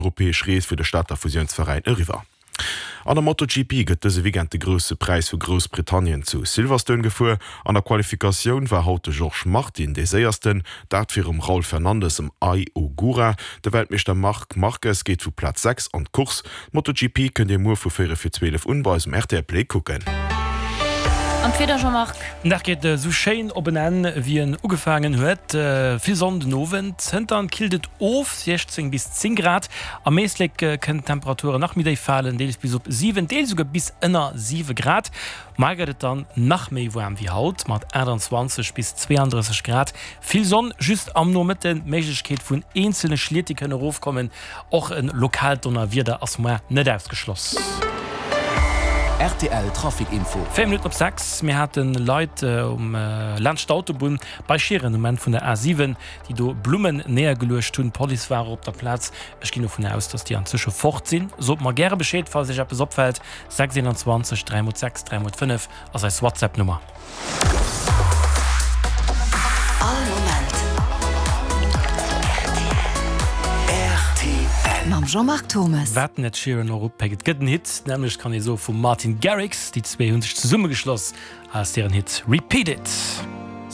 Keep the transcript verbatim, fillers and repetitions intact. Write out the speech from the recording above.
Europäesch Rees fir de Stater Fusiounsveräin eriwwer. An der MotoGP gëtt dëse Weekend de Grousse Präis vu Groussbritannien zu Silverstone gefuer. An der Qualifikatioun war haut de Jorge Martin dee Séiersten, dat virum Raul Fernandez am Ai Ogura. De Weltmeeschter Marc Marquez geet vu Plaz sechs an d'Course. D'MotoGP kënnt Dir muer vu véierel vir zwielef un bei eis um rtl Play kucken. An d'Wieder, Jean-Marc? Den Dag geet esou schéin op en Enn wéi en ugefaangen huet. Vill Sonn den Owend, zënter killt et of, siechzéng bis zéng Grad. Am Éislek kënnen d'Temperaturen nach méi déif falen, deels bis op siwen, deels esouguer bis ënner siwe Grad. Mar gëtt et dann nach méi waarm wéi haut, mat aachtanzwanzeg bis zweeandrësseg Grad. Vill Sonn, just am Nomëtten d'Méiglechkeet vun eenzelne Schliet déi kënnen erofkommen. Och e lokaalt Donnerwieder ass mar net ausgeschloss. Rtl Trafic Info. Véier Minutten op sechs. Mir hate Leit um laanscht d'Autobunn bei Schieren um Enn vun der A siwen, déi do Blummen néiergeluecht hunn. D'Police war op der Plaz. Ech ginn dovun aus, dass déi anzwësche fort sinn. Sot mer gäre Bescheed, falls Iech eppes opfält. Sechs eenanzwanzeg dräi mol sechs dräi mol fënnef ass eis WhatsApp-Nummer. All Moment rtl. Mam Jean-Marc Thomes. Wat den Ed Sheeran och upéckt, et gëtt en Hit, nämlech kann ee soe vum Martin Garrix. Déi zwee hu sech zesummegeschloss, hei ass hiren Hit Repeat It.